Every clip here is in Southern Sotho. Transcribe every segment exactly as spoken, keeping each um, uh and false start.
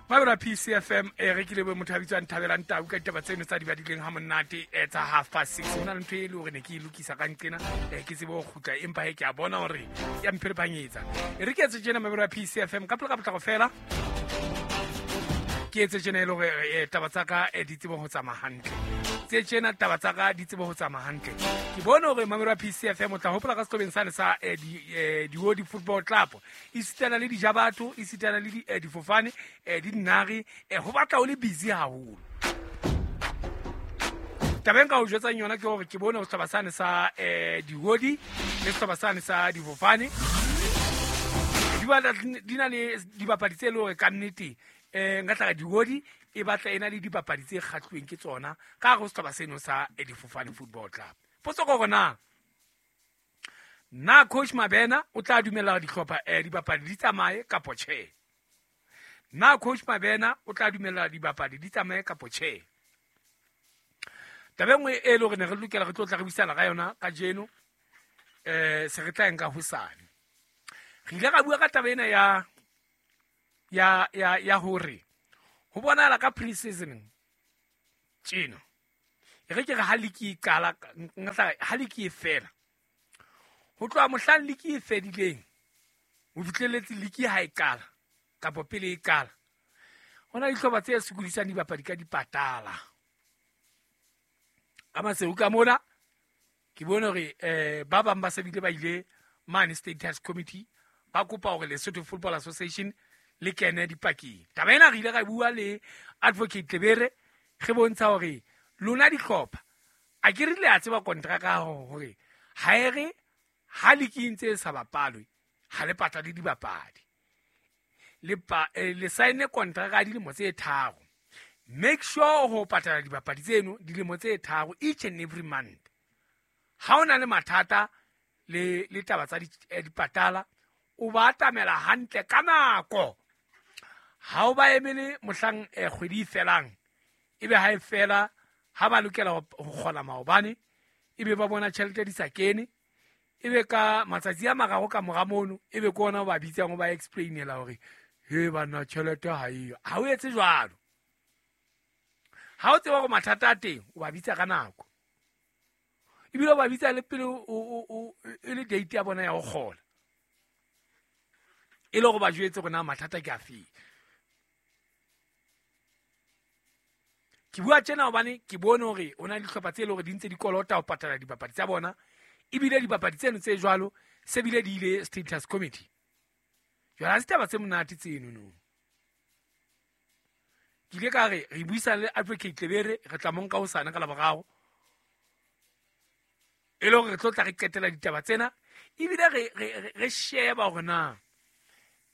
Mabra P C F M e re ke lebohe motho a bitswang Thabelang Tau ka ditaba tseno tsa di badileng ha monate eh, tsa half past six. Ho na le ntho e le hore ne ke e lokisa ka nqena eh, ke tsebe ho kgutla, empa he ke a bona hore ya mpherepanyetsa. E re ke etse tjena Mabra P C F M ka pele ka potlako fela. Ke etse tjena e le hore eh, taba tsa ka eh, di tsebe ho tsamaya hantle. Tse tjena taba tsa ka di tsebe ho tsamaya hantle. Ke bone hore Mabra P C F M o tla hopola ka sehlobeng sane sa eh, di, eh, Diodi Football Club. Esitana le dijabatho, esitana le di, eh, difofane, eh, di dinare, eh, ho batla o le busy haholo. Taba e nka o jwetsang yona ke hore ke bone ho sehlopha sane sa, eh, Diodi le sehlopha sane sa difofane. Di batla di na le dibapadi tse leng hore ka nnete, eh, nka tla re Diodi e batla e na le dibapadi tse kgahluweng ke tsona ka hare ho sehlopha seno sa, eh, Difofane Football Club. Potso ke hore na, na Coach Mabena o tla dumella hore dihlopha, eh, dibapadi di tsamaye kapo tjhe? Na Coach Mabena o tla dumella dibapadi di tsamaye kapo tjhe? Taba e nngwe e le hore ne re lokela re tlo tla re buisana ka yona kajeno, eh, se re tla e nka hosane. Re ile ra bua ka taba ena ya, ya, ya, ya hore ho bonahala ka pre-season tjena. E re ke re ha league e qala, nka tla re ha league e fela. Ho tloha mohlang league e fedileng, ho fihlelletse league ha e qala, kapa pele e qala. Ho na le dihlopha tse sokodisang dibapadi ka dipatala. Ka Maseru ka mona, ke bone hore, eh, ba bang ba se bile ba ile mane Status Committee, ba kopa hore Lesotho Football Association le kene dipakeng. Taba ena re ile ra bua le Advocate Lebere, re bontsha hore lona dihlopha, a ke re le a tseba kontraka ya hore hore ha e re ha league e ntse e sa bapalwe, ha le patale dibapadi. Le pa-, eh, le saene kontraka ya dilemo tse tharo. Make sure ho patala dibapadi tseno dilemo tse tharo each and every month. Ha o na le mathata le, le taba tsa di-, eh, dipatala, o ba atamela hantle ka nako. Ha o ba emele mohlang, eh, kgwedi e felang, ebe ha e fela, ha ba lokela ho, ho kgola maobane, ebe ba bona tjhelete di sa kene, ebe ka matsatsi a mararo ka mora mono, ebe ke ona o ba bitsang o ba explainela hore, he banna tjhelete ha eyo. Ha o etse jwalo. Ha o tseba hore mathata a teng, o ba bitsa ka nako. Ebile o ba bitsa le pele o, o, o, e le date ya bona ya ho kgola. E le hore ba jwetse hore na mathata ke afe. Ke bua tjena hobane ke bone hore ho na le dihlopha tse leng hore di ntse di kolota ho patala dibapadi tsa bona, ebile dibapadi tseno tse jwalo se bile di ile Status Committee. Jwale ha se taba tse monate tseno no. Ke ile ka re re buisana le Advocate Lebere, re tla mo nka hosane ka Laboraro. E le hore re tlo tla re qetela ditaba tsena, ebile re, re, re, re sheba hore na,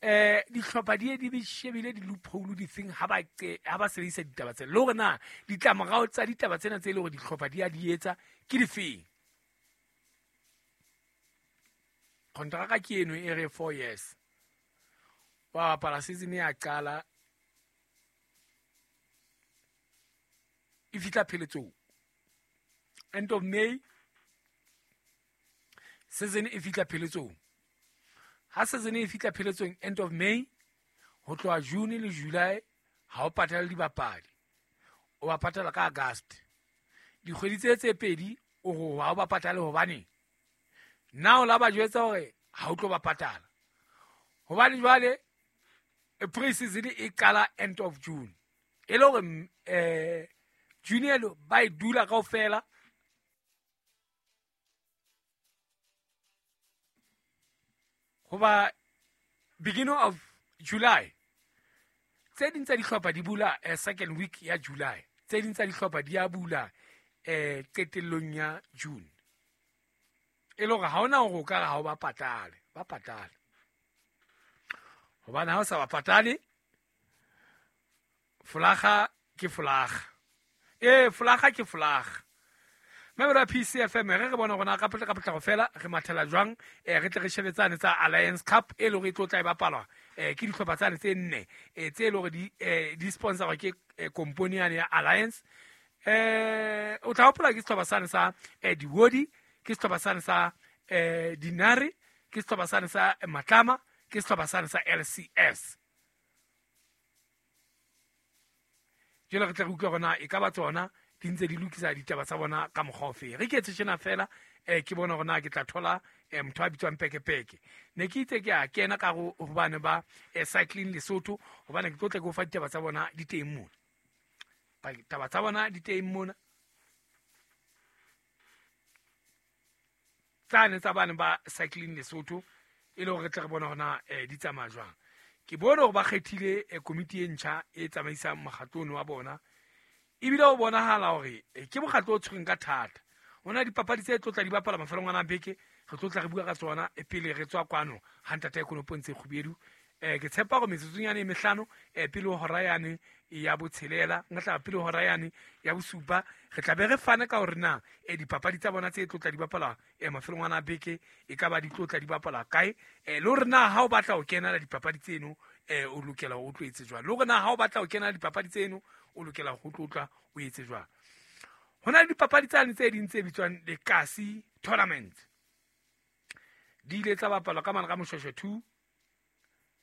eh, dihlopha di ye di be shebile di-loophole di feng ha ba qe-, ha ba sebedisa ditaba tsena, le hore na ditlamorao tsa ditaba tsena tse leng hore dihlopha di a di etsa ke difeng. Kontraka ke eno e re four years. Wa bapala season ya qala e fihla pheletsong. End of May season e fihla pheletsong. Ha season e fihla pheletsong end of May, ho tloha June le July ha o patale dibapadi. O ba patala ka August. Dikgwedi tse tse pedi o re ha o ba patale hobane na o la ba jwetsa hore ha o tlo ba patala. Hobane jwale pre-season e qala end of June. E le hore, eh, June elo ba e dula kaofela. Hoba beginning of July, tse ding tsa dihlopha di bula, eh, second week ya July. Tse ding tsa dihlopha di a bula, eh, qetellong ya June. E le hore ha hona hore o ka re ha o ba patale, ba patale. Hobane ha o sa ba patale, folaga ke folaga. Eh, folaga ke folaga. Member P C F M, re re bona rona ka pele ka potlako fela, re mathela jwang, eh, re tle re shebetsane tsa Alliance Cup e leng hore e tlo tla e bapalwa, eh, ke dihlopha tsane tse nne, eh, tse leng hore di, eh, di sponsorwa ke, eh, kompone yane ya Alliance. Eh, o tla hopola ke sehlopha sane sa, eh, Diodi, ke sehlopha sane sa, eh, Dinare, ke sehlopha sane sa Matlama, ke sehlopha sane sa L C S. Jwale re tla re utlwa hore na e ka ba tsona di ntse di lokisa ditaba tsa bona ka mokgwa ofe. Re ke etse tjena fela eh ke bona hore na ke tla thola eh motho a bitswang Pekepeke. Ne ke itse ke a kena ka ho hobane ba eh, Cycling Lesotho, hobane ke tlo tla ke o fa ditaba tsa bona di teng mona. Taba tsa bona di teng mona. Tsane tsa bana ba Cycling Lesotho e le hore re tle re bone hore na eh, di tsamaya jwang. Ke bone hore ba kgethile eh, komiti e ntjha e tsamaisang mokgatlo ono wa bona. Ebile ho bonahala hore eh, ke mokgatlo o tshwereng ka thata. Ho na dipapadi tse tlo tla di bapala mafelong ana a beke, re tlo tla re bua ka tsona e pele re tswa kwano ha ntate Konopo ntse Kgubedu. Eh ke tshepa hore metsotsong yane e mehlano eh pele ho hora yane ya botshelela, nka tla pele ho hora yane ya bosupa, re tla be re fane ka hore na eh dipapadi tsa bona tse tlo tla di bapala eh mafelong ana a beke e ka ba di tlo tla di bapala kae, eh le hore na ha o batla ho kenela dipapadi tseno eh o lokela ho tlo etse jwang, le hore na ha o batla ho kenela dipapadi tseno o lokela ho tlo tla o etse jwang. Ho na le dipapadi tsane tse ding tse bitswang Lekasi Tournament. Di ile tsa bapalwa ka mane ka Moshweshwe two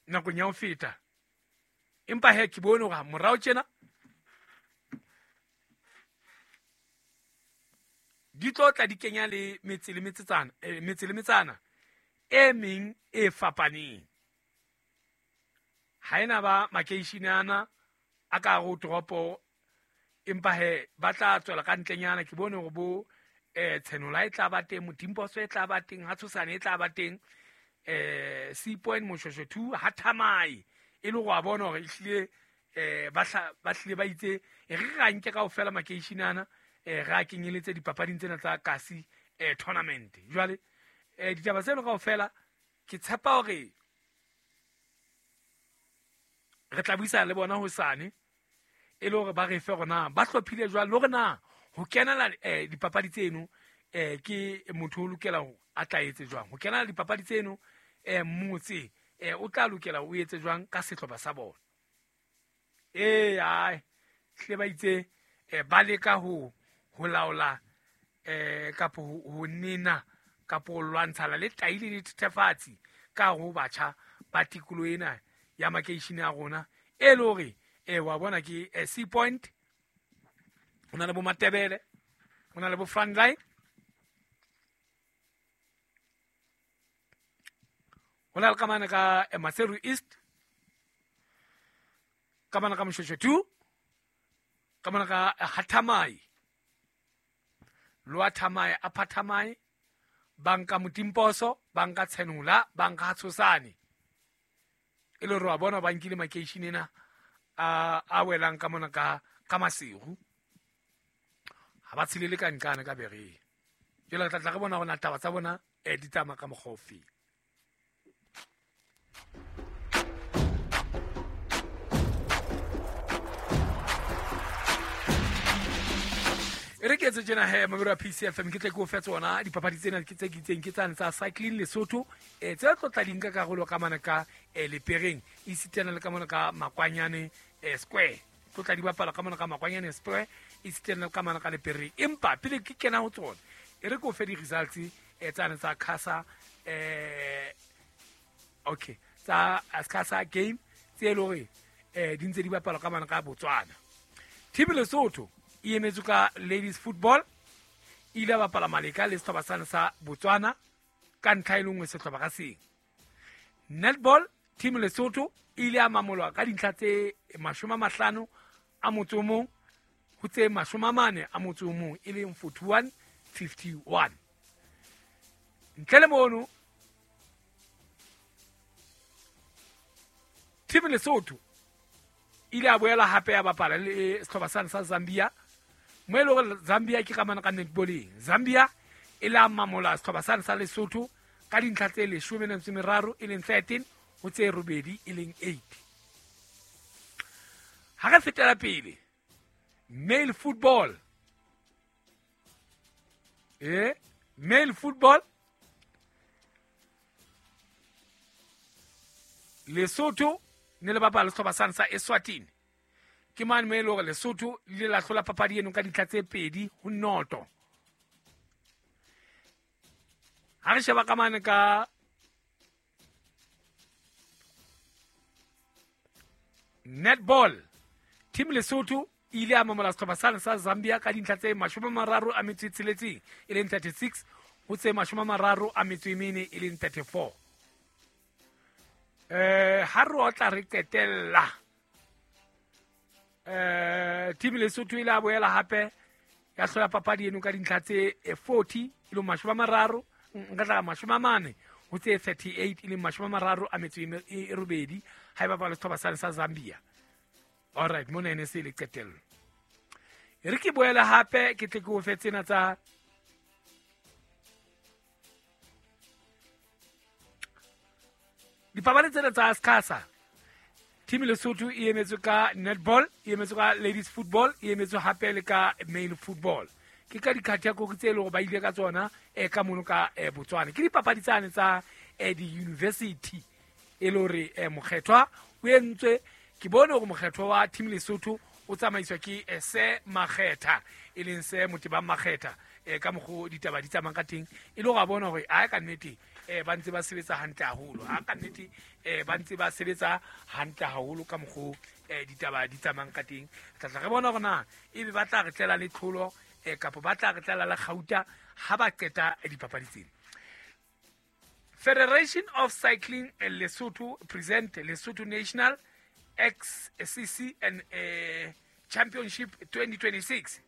nakong ya ho feta. Empa he ke bone hore morao tjena di tlo tla di kenya le metse le metsetsana, eh, metse le metsana e meng e fapaneng. Ha ena ba makeishene ana a ka hare ho toropo, empa he ba tla tswela ka ntlenyana. Ke bone hore bo eh Tshenola e tla ba teng, Motimposo e tla ba teng, Hatshosane e tla ba teng, eh Sea Point, Moshweshwe two, ha Thamai e le go a bona hore ehlile eh ba ba hlile ba itse e re ra nke kaofela makeishene ana eh ra kenyeletse dipapading tsena tsa Kasi eh tournament. Jwale eh ditaba tseno kaofela ke tshepa hore re tla buisana le bona hosane e le hore ba re fe hore na ba hlophile jwang, le hore na ho kenela eh dipapadi tseno eh ke motho o lokela ho a tla etse jwang, ho kenela dipapadi tseno eh motse eh o tla lokela o etse jwang ka sehlopha sa bona. Eh ai hle ba itse eh ba leka ho ho laola eh kapo ho nena kapo ho lwantshana le tai le dithethefatsi ka ho batjha ba tikoloho ena ya makeishene a rona e le hore eh wa bona ke eh, Sea Point, ho na le bo Matebele, ho na le bo Frontline, ho na le ka mane ka eh, Maseru East, ka mane ka Moshweshwe two, ka mane ka eh, Hathamai, Lower Thamai, Upper Thamai, banka Motimposo, banka Tshenola, banka Hatshosane. E le hore wa bona ba nkile makeishene ena a a welang ka mona ka ka Maseru. Ha ba tshelele ka nqane ka bereng. Jwale re tla tla re bona hore na taba tsa bona eh di tsamaya ka mokgwa ofe. E re ke etse tjena he mamelo a P C F M, ke tle ke o fe tsona dipapadi tsena ke tse ke itseng ke tsane tsa Cycling Lesotho eh tse tlo tla di nka karolo ka mane ka eh, Lepereng esitana le ka mona ka Makwanyane eh, Square. Tlo tla di bapala ka mona ka Makwanyane Square esitana le ka mane ka Lepereng. Empa pele ke kena ho tsona e re ke o fe di-results eh, tsane tsa Casa eh, okay tsa Casa game tse e le hore eh, di ntse di bapalwa ka mane ka Botswana. Team Lesotho e emetswe ka ladies football, e ile bapala maleka le sehlopha sane sa Botswana ka ntlha e le nngwe sehlopha ka seng. Netball team Lesotho e ile ya mamolwa ka dintlha tse mashome a mahlano a motso o mong ho tse mashome a mane a motso o mong e leng forty-one fifty-one. Ntle le mono team Lesotho e ile ya boela hape ya bapala le sehlopha sane sa Zambia, mo e le hore Zambia ke ka mane ka netballeng. Zambia e la mamola sehlopha sane sa Lesotho ka dintlha tse leshome le metso e meraro e leng thirteen ho tse robedi e leng eight. Ha re fetela pele, male football eh male football Lesotho ne le bapala sehlopha sane sa Eswatini. Ke mane mo e le hore Lesotho le ile la hlola papadi eno ka dintlha tse pedi ho noto. Ha re sheba ka mane ka netball, team Lesotho ile a mamola sehlopha sane sa Zambia ka dintlha tse mashome a mararo a metso e tsheletseng e leng thirty-six ho tse mashome a mararo a metso e mene e leng thirty-four. Eh ha re otla re qetella eh team Lesotho ile a boela hape ya hlola papadi eno ka dintlha tse forty e leng mashome a mararo nka tla mashome a mane ho tse thirty-eight e leng mashome a mararo a metso e robedi ha e bapala sehlopha sane sa Zambia. All right, mona ene se le qetello. E re ke boele hape ke tle ke o fe tsena tsa dipapadi tsena tsa SCASA. Team Lesotho e emetswe ka netball, e emetswe ka ladies football, e emetswe hape le ka male football. Ke ka dikhathekori tse leng hore ba ile ka tsona eh ka mono ka eh, Botswana. Ke dipapadi tsane tsa eh, di-university e le hore eh, mokgethwa o entswe. Ke bone hore mokgetho wa team Lesotho o tsamaiswa ke eh, se Makgetha e leng se Motebang Makgetha eh, ka mokgo ditaba di tsamayang ka teng e le hore a bona hore a ka nnete eh, ba ntse ba sebetsa hantle haholo, a ka nnete eh, ba ntse ba sebetsa hantle haholo ka mokgo eh, ditaba di tsamayang ka teng. Tla tla re bona hore na ebe ba tla re tlela le tlholo eh, kapa ba tla re tlela le kgauta ha ba qeta eh, dipapadi tsena. Federation of Cycling Lesotho present Lesotho National X C C and uh, Championship twenty twenty-six.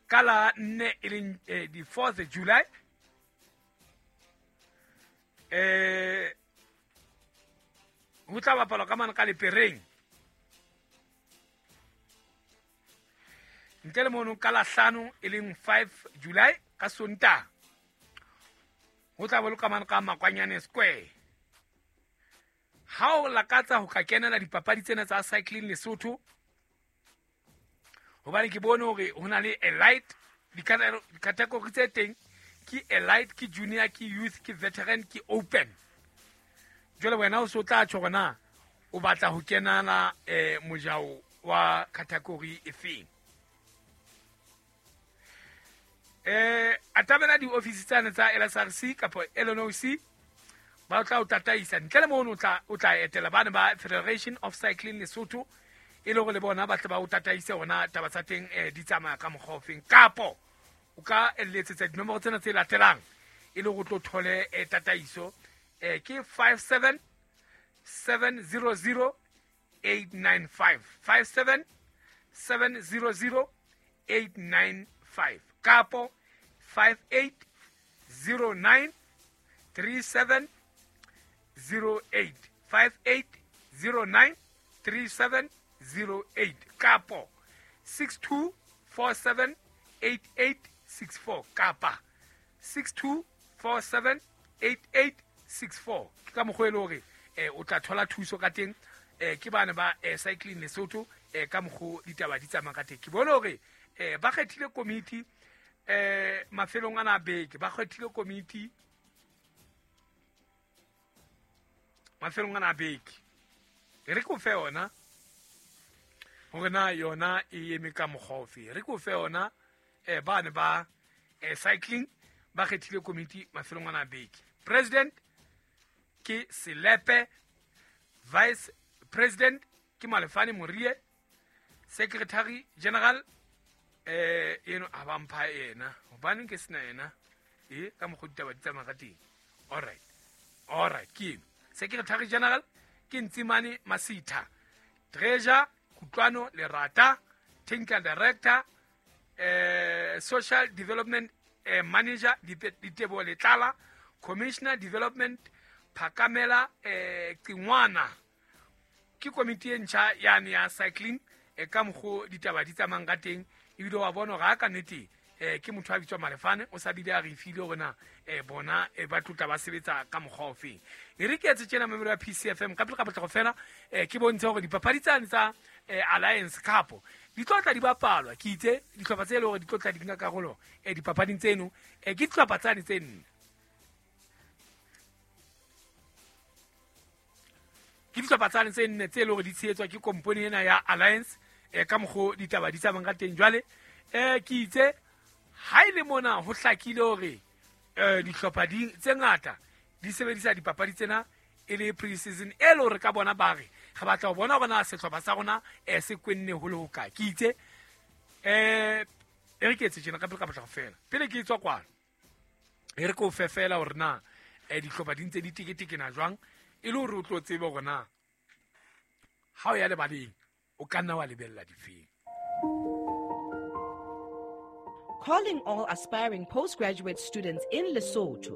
Kala nne e leng eh, di fourth of July. Eh ho tla bapalwa ka mane ka Lepereng. Ntle le mono ka la hlano e leng five July ka Sontaha. Ho tla boloka mane ka Makwanyane Square. Ha o lakatsa ho ka kenela dipapadi tsena tsa cycling Lesotho, hobane ke bone hore ho na le elite dikategori tse teng ke elite, ke junior, ke youth, ke veteran, ke open. Jwale wena o so tla tjho hore na o batla ho kenana eh, mojao wa category efeng. Eh atamela di-office tsane tsa L S R C kapa L N O C ba tla o tataisa. Ntle le mono o tla o tla etela bana ba Federation of Cycling Lesotho e le hore le bona ba tle ba o tataise hona taba tsa teng eh, di tsamaya ka mokgwa ofeng. Kapo o ka letsetsa dinomoro tsena tse latelang e le hore o tlo thole eh, tataiso eh, ke five seven seven zero zero eight nine five five seven seven zero zero eight nine five kapo five eight zero nine three seven zero eight five eight zero nine three seven zero eight kapo six two four seven eight eight six four kapa six two four seven eight eight six four. Ke ka mokgwa e le hore eh, o tla thola thuso ka teng eh, ke bana ba eh, Cycling Lesotho eh, ka mokgwa ditaba di tsamaya ka teng. Ke bone hore eh, ba kgethile komiti eh, mafelong ana a beke, ba kgethile komiti mafelong ana a beke. E re ke o fe yona hore na yona e eme ka mokgwa ofe. Re ke o fe yona eh, bane ba eh, cycling ba kgethile komiti mafelong ana a beke. President ke Selepe, Vice President ke Malefane Morie, Secretary General eh eno a ba mpha yena hobane ke sena yena e ka mokgwa ditaba di tsamaya ka teng. All right, all right, ke eno Secretary General ke Ntsimane Masitha, Treasure Kutlwano Lerata, Technical Director eh, Social Development eh, Manager Ditebo Letlala, Commissioner Development Phakamela eh, Qingwana. Ke komiti e ntjha yane ya cycling e ka mokgo ditaba di tsamayang ka teng. Ebile wa bona hore ha ka nnete eh, ke motho a bitswa Malefane o sa bile a re file hore na eh, bona eh, ba tlotla ba sebetsa ka mokgwa ofeng. E re ke etse tjena memero ya P C F M ka pele ka potlako fela eh, ke bontshe hore dipapadi tsane tsa eh, Alliance Cup di tlo tla di bapalwa. Ke itse dihlopha tse leng hore di tlo tla di nka karolo eh, dipapading tseno eh, ke dihlopha tsane tse nne. Ke dihlopha tsane tse nne tse leng hore di tshehetswa ke kompone ena ya Alliance eh, ka mokgo ditaba di tsamayang ka teng. Jwale eh, ke itse ha e le mona ho hlakile hore eh, dihlopha di tse ngata di sebedisa dipapadi tsena e le pre-season e le hore ka bona ba re re batla ho bona hore na sehlopha sa rona eh se kwenne ho le hokae. Ke itse eh e re ke etse tjena ka pele ka potlako fela pele ke tswa kwano e re ke o fe fela hore na eh dihlopha di ntse di teketekena jwang e le hore o tlo tsebe hore na ha o ya lebaleng o ka nna wa lebella difeng. Calling all aspiring postgraduate students in Lesotho.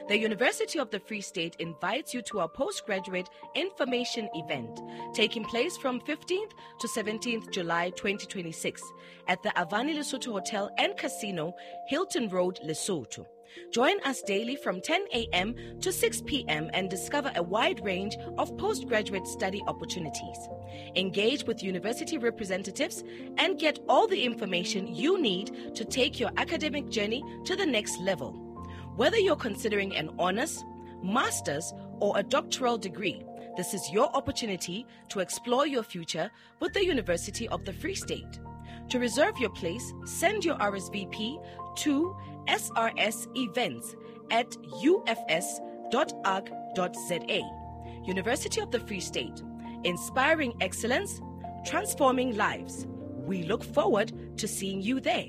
The University of the Free State invites you to our postgraduate information event taking place from fifteenth to seventeenth July twenty twenty-six at the Avani Lesotho Hotel and Casino, Hilton Road, Lesotho. Join us daily from ten a.m. to six p.m. and discover a wide range of postgraduate study opportunities. Engage with university representatives and get all the information you need to take your academic journey to the next level. Whether you're considering an honors, master's, or a doctoral degree, this is your opportunity to explore your future with the University of the Free State. To reserve your place, send your R S V P to S R S events at U F S dot org dot Z A. University of the Free State, inspiring excellence, transforming lives. We look forward to seeing you there.